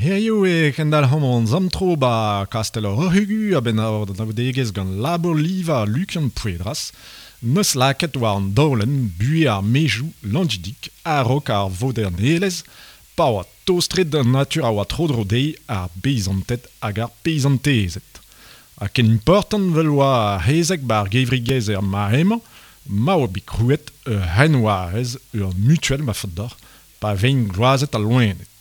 Hiziv e kendalc'homp hon zamtro 'ba Kastell ar Roc'h-Ugu a-benn ar anaoudegezh gant labour-livañ Lukian Pouedras 'neus lakaet war an daolenn buhez ar maezioù Langidig a-raok ar vodernelezh pa oa tost-tre d'an natur a oa tro-dro dezhi ar beizanted hag ar peizantezed. Ha ken important 'vel oa ar c'hezeg 'ba ar gevredigezh er mare-mañ ma oa bet krouet ur c'henwarez, ur mutuel ma faot deoc'h, pa vez gloazet al loened.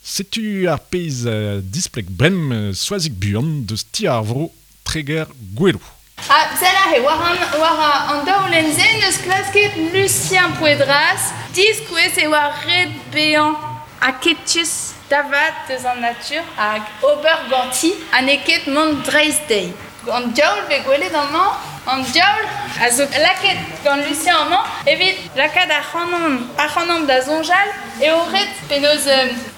Setu ar pezh displeg bremañ Soazig Buan deus Ti ar Vro Treger-Goueloù. Ha sell aze, war an, war an daolenn-se n'eus klasket Lucien Pouedras diskouez e oa ret bezañ aketus da vat eus an natur hag ober ganti ha n'eo ket mont dreist dezhi. An diaoul 'vez gwelet amañ, an diaoul a zo lakaet gant Lucien amañ evit lakaat ac'hanomp da soñjal eo ret penaos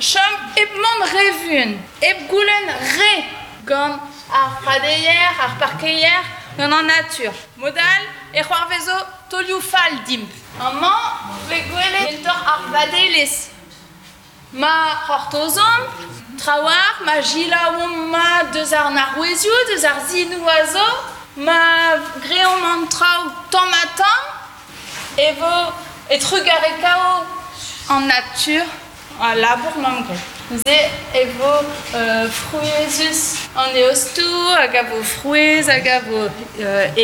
chom hep mont re vuan, hep goulenn re gant ar pradeier, ar parkeier, gant an natur. Mod-all e c'hoarvezo taolioù fall dimp. Amañ 'vez gwelet kentoc'h ar vadelezh. Ma c'hortozomp trawalc'h, ma selaouomp mat deus an arouezioù, deus ar sinoù a zo, ma greomp an traoù tamm-ha-tamm, e vo e trugarekao an natur al labour 'mamp graet. Neuze e vo frouezhus an eostoù hag a vo frouezh hag a vo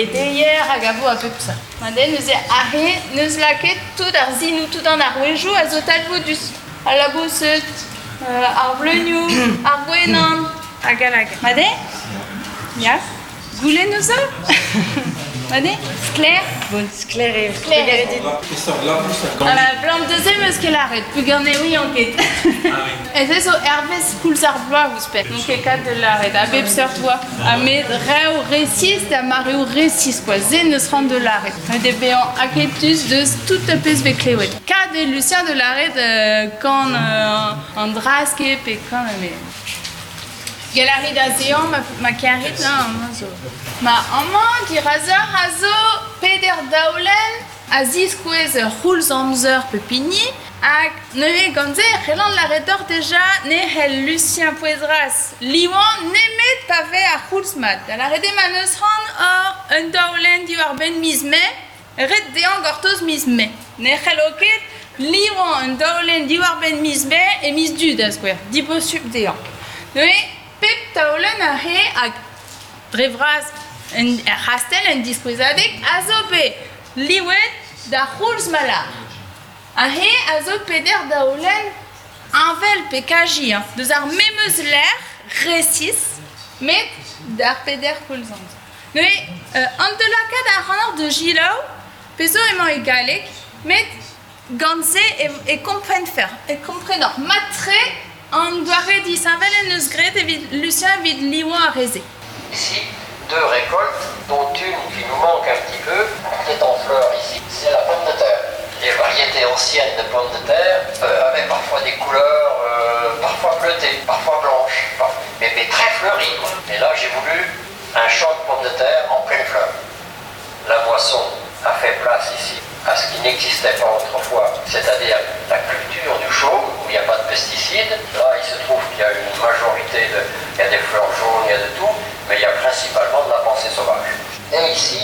edeier hag a vo a bep seurt. Ma neuze aze n'eus lakaet tout ar sinoù, tout an arouezioù a zo talvoudus. Al laboused, ar bleunioù, ar gwenan, hag all hag. Mat eo? Ya. Goulennoù zo? Mat eo? Sklaer? Bon, sklaer eo. Sklaer eo. Peseurt labous a gan? Blam da se 'meus ket lâret, peogwir ne ouian ket. Ez zo hervez koulz ar bloaz ouzhpenn. N'on ket kat da lâret a bep seurt oa. Ha met reoù resis da mareoù resis quoi. Se n'eus c'hoant da lâret. Met eo bezañ aketus deus tout ar pezh 'vez klevet. Kat eo Lucien da lâret kan an drask eo pe kan met... Gell a rit azeañ ma karit amañ zo. Ma amañ dirazoc'h a zo peder daolenn a ziskouez ur c'houlz amzer pep hini hag neuze gant se e c'hellan lâret deoc'h deja ne c'hell Lucien Pouezras livañ nemet pa vez ar c'houlz mat. Da lâret eo ma n'eus c'hoant oc'h un daolenn diwar-benn miz Mae, ret dezhañ gortoz miz Mae. Ne c'hello ket livañ un daolenn diwar-benn miz Mae e miz Du da skouer, dibosupl dezhañ. Neuze pep taolenn a re hag dre vras er c'hastell en diskouezadeg a zo bet livet d'ar c'houlz ma lâr. Aze a zo peder daolenn heñvel pe kaji hein, deus ar memes lec'h resis met d'ar peder koulz amzer. Neuze an da lakaat ac'hanoc'h da selaou pezh zo emañ e galleg met gant se e komprenfec'h e komprenoc'h mat-tre an doare disheñvel en deus graet evit Lucien evit livañ ar re-se. Ici, deux récoltes, dont une qui nous manque un petit peu, qui est en fleur ici, c'est la pomme de terre. Les variétés anciennes de pommes de terre euh, avaient parfois des couleurs euh, parfois bleutées, parfois blanches, mais, mais très fleuries. Quoi. Et là, j'ai voulu un champ de pommes de terre en pleine fleur. La moisson a fait place ici à ce qui n'existait pas autrefois, c'est-à-dire la culture du chaume, où il n'y a pas de pesticides. Là, il se trouve qu'il y a une majorité de... Il y a des fleurs jaunes, il y a de tout, mais il y a principalement de la pensée sauvage. Et ici,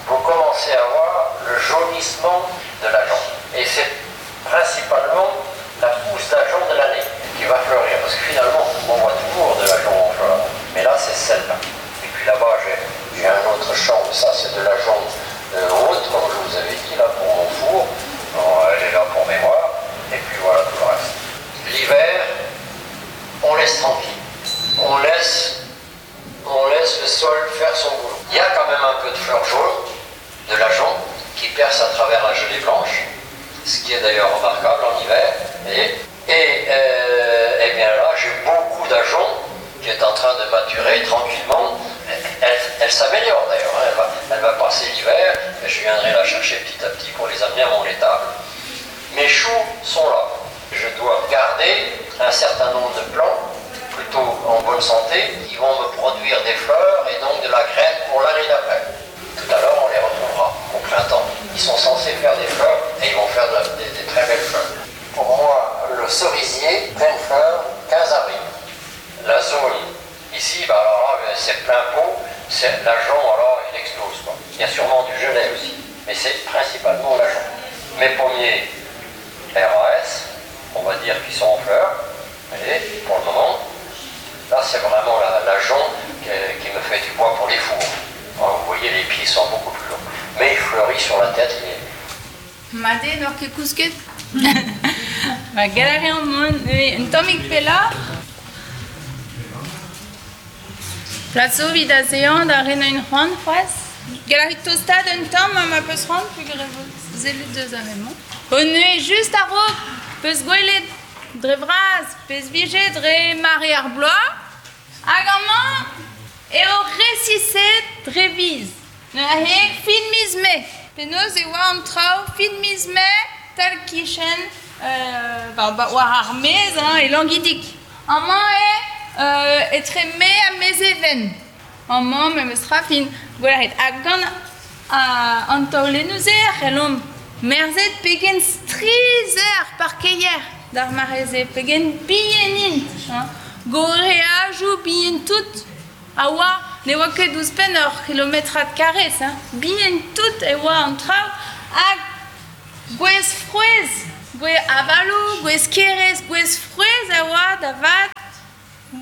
vous commencez à voir le jaunissement de l'ajonc. Et c'est principalement la pousse d'ajonc de l'année qui va fleurir, parce que finalement, on voit toujours de l'ajonc en fleur. Mais là, c'est celle-là. Et puis là-bas, j'ai un autre champ, ça c'est de l'ajonc haute, comme je vous avais dit, là pour mon four. Elle est là pour mémoire. Et puis voilà tout le reste. L'hiver, on laisse tranquille. On laisse, on laisse le sol faire son boulot. Il y a quand même un peu de fleurs jaunes, de l'ajonc, qui perce à travers la gelée blanche, ce qui est d'ailleurs remarquable en hiver. Et, et, euh, et bien là, j'ai beaucoup d'ajonc qui est en train de maturer tranquillement. Elle, elle s'améliore d'ailleurs, hein. elle, va, elle va passer l'hiver et je viendrai la chercher petit à petit pour les amener à mon étable. Mes choux sont là. Je dois garder un certain nombre de plants, plutôt en bonne santé, qui vont me produire des fleurs et donc de la graine pour l'année d'après. Tout à l'heure, on les retrouvera au printemps. Ils sont censés faire des fleurs et ils vont faire de, des, des très belles fleurs. Pour moi, le cerisier, pleine fleur, 15 avril. c'est plein pot, c'est l'ajonc, alors il explose. Quoi. Il y a sûrement du genêt aussi, mais c'est principalement l'ajonc. Mes pommiers RAS, on va dire qu'ils sont en fleurs, voyez, pour le moment. Là, c'est vraiment l'ajonc qui me fait du bois pour les fours. Alors, vous voyez, les pieds sont beaucoup plus longs. Mais il fleurit sur la tête. Mat eo, n'oc'h ket kousket? Ba, gell a reomp mont un tammig pelloc'h. Plas zo evit azeañ da renañ un c'hoant c'hoazh. Gell a rit tostaat un tamm ha ma peus c'hoant peogwir e vo sellet deus ar re-mañ. O neuze just a-raok 'peus gwelet dre vras pezh 'vije dre mare ar bloaz hag amañ eo resiset dre viz. Neuze fin miz Mae. Penaos e oa an traoù fin miz Mae tal-kichen war ar maez hein, e Langidig. Amañ eo etre Mae ha Mezheven. Amañ memes tra fin gwelet. Ha gant an taolennoù-se e c'hellomp merzet pegen strizh eo ar parkeier d'ar mare-se, pegen bihan int. Hein. Gorreajoù bihan-tout a oa, ne oa ket ouzhpenn ur c'hilometrad karrez. Hein. Bihan-tout e oa an traoù hag gwez frouezh, gwez avaloù, gwez kerez, gwez frouezh a oa da vat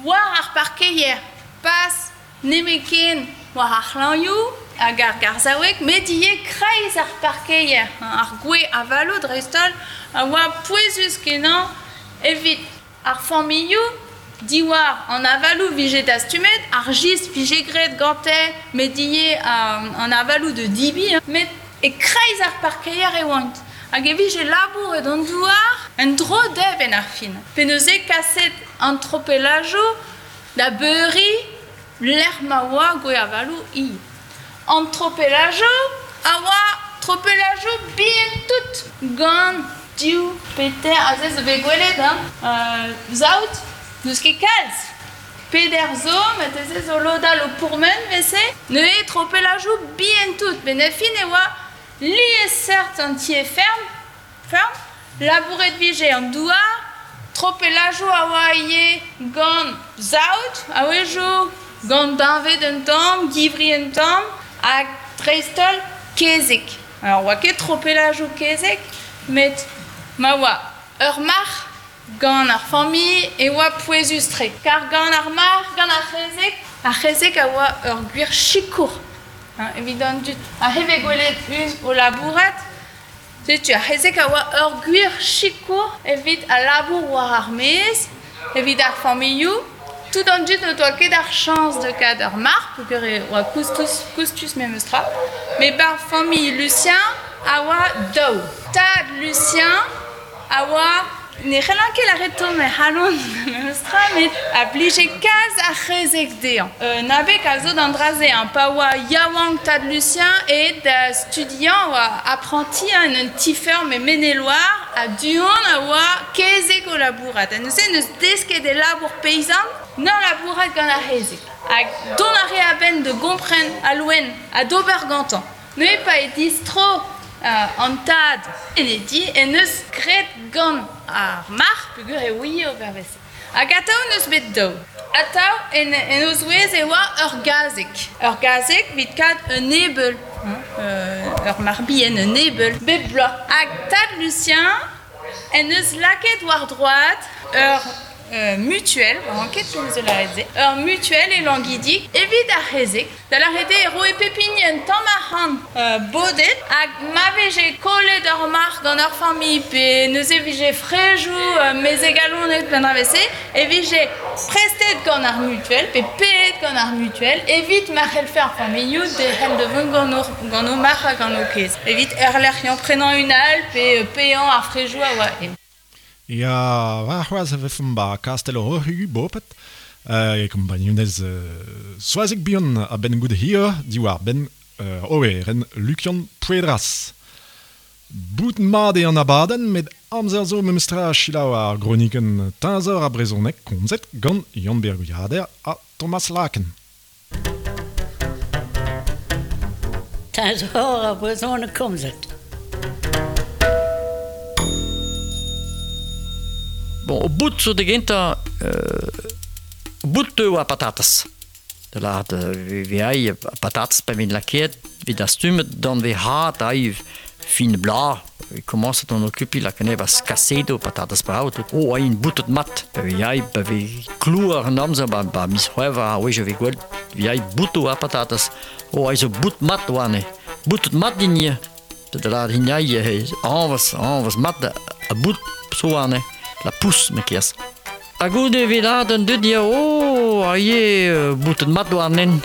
war ar parkeier, pas nemetken war ar c'hlañioù hag ar garzhaoueg, met ivez kreiz ar parkeier, ar gwez avaloù dreist-holl, a oa pouezus-kenañ evit ar familhoù. Diwar an avaloù 'vije dastumet, ar jistr 'vije graet gante, met ivez an avaloù da debriñ, met e-kreiz ar parkeier e oant. Hag e vije labouret an douar en-dro dezhe 'benn ar fin. Pe neuze kaset an tropellajoù da beuriñ lec'h ma oa gwez-avaloù ivez. An tropellajoù a oa tropellajoù bihan-tout gant div pe teir aze zo bet gwelet hein, saout n'eus ket kalz. Peder zo, marteze zo lod all o pourmen 'vese. Neuze tropellajoù bihan-tout met er fin e oa liesseurt an tiez-ferm, ferm, labouret 'vije an douar, tropellajoù a oa ivez gant saout a-wezhioù, gant deñved un tamm, givri un tamm, hag dreist-holl kezeg. Alors 'oa ket tropellajoù kezeg, met ma oa ur marc'h gant ar familh e oa pouezus-tre. Kar gant ar marc'h, gant ar c'hezeg, ar c'hezeg a oa ur gwir sikour hein, evit an dud. Aze 'vez gwelet un o labourat. Setu ar c'hezeg a oa ur gwir sikour evit al labour war ar maez, evit ar familhoù. Tout an dud n'o doa ket ar chañs da kaout ur marc'h peogwir e oa koustus, koustus memes tra. Met 'bar familh Lucien a oa daou. Tad Lucien a oa Ne c'hellan ket lâret tomm e c'halon memes tra met a blije kalz ar c'hezeg dezhañ. Un abeg a zo d'an dra-se hein, pa oa yaouank tad Lucien aet da studiañ oa aprantiñ en un ti-feurm e Maine-et-Loire ha du-hont a oa kezeg o labourat. Ha neuze 'neus desket e labour peizant 'n ur labourat gant ar c'hezeg. Hag dont a rae a-benn da gompren al loen ha d'ober gantañ. Neuze pa eo distro an tad en e di en deus graet gant ar marc'h peogwir e ouie ober evel-se. Hag atav n'eus bet daou. Atav en en o zouez e oa ur gazeg. Ur gazeg evit kaout un ebeul, ur marc'h bihan, un ebeul, bep bloaz. Hag tad Lucien en deus lakaet war droad ur mutuel, oan ket penaos da lâret se, ur mutuel e Langidig evit ar c'hezeg. Da lâret eo e roe pep hini un tamm arc'hant bodet hag ma veze kollet ur marc'h gant ur familh pe neuze e vije frejoù mezeg-alonet pe an dra-se, e vije prestet gant ar mutuel pe paeet gant ar mutuel evit ma c'hellfe ar familhoù derc'hel da vont gant o marc'h ha gant o kezeg. Evit erlec'hiañ prenañ un all pe paeañ ar frejoù a oa. Ya, warc'hoazh e vefemp 'ba kastell Roc'hu boped e kompagnunezh Soazig Bihan a-benn goude hir diwar-benn oberenn Lukian Pouedras. Bout mat eo an abadenn met amzer zo memestra selaou ar gronikenn Teñzor ar brezhoneg komzet gant Yann-Bêr Gwiader ha Thomas Laken. Teñzor ar brezhoneg komzet. Bon, o bout zo da gentañ, bout teu a patatas. Da lâret e vez patatez pa vez lakaet, vez dastumet dan vez had ai fin bloaz, e komañset on okupiñ lakaat anezhe 'ba kasedoù patatez brav tout. Oh, ai int boutet mat. Pa vez ai pa vez klouar an amzer ba ba miz C'hwevrer a-wech e vez gwelet vez ai boutoù ar patatez. Oh, ai zo bout mat warne. Boutet mat din ivez. Da lâret hini ai añvez, añvez mat ha bout zo warne. La pousse ma kerz. Ha goude evit lâret an dud ya, oh, a ivez boutet mat warnen.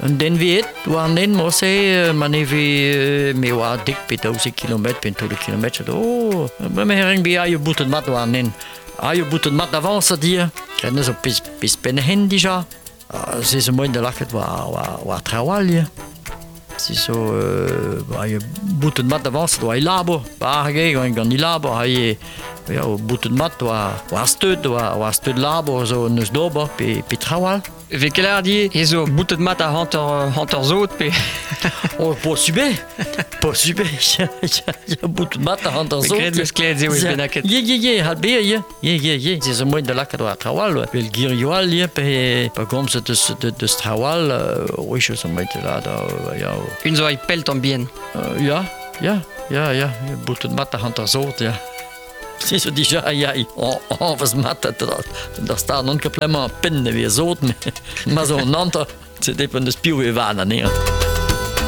Un den vet warnen morse ma ne vez me oa dek pe 12 kilometr pe un taol kilometr oh, me renk bezañ boutet mat warnen. Ah, eo boutet mat avañs a dir. Krenn zo pezh pezh penn-hen dija. Se zo moaien da lakaat war, war, war traoù all ya. Se zo ba eo boutet mat avañset war e labour. Ba hag eo gant e labour ha eo ya boutet mat war war steud war war steud labour zo neus d'ober pe pe traoù all. E vez ket lâret ivez ez zo boutet mat a hanter hanter zot pe Oh, posubl posubl ya boutet mat a hanter zot. Graet meus klevet se oa bennaket. Ye ye ye hal bezañ ye ye ye ye se zo moaien da lakaat war traoù all vel girioù all ye pe pa gomzet deus deus traoù all wech zo moaien da lâret ya. Un zo ay pell tamm bihan. Ya ya ya ya boutet mat a hanter zot ya. Se zo dija ya añvez mat da stad non ket plemañ penn e vez zot ma zo an hanter se depend deus piv e van anezhañ.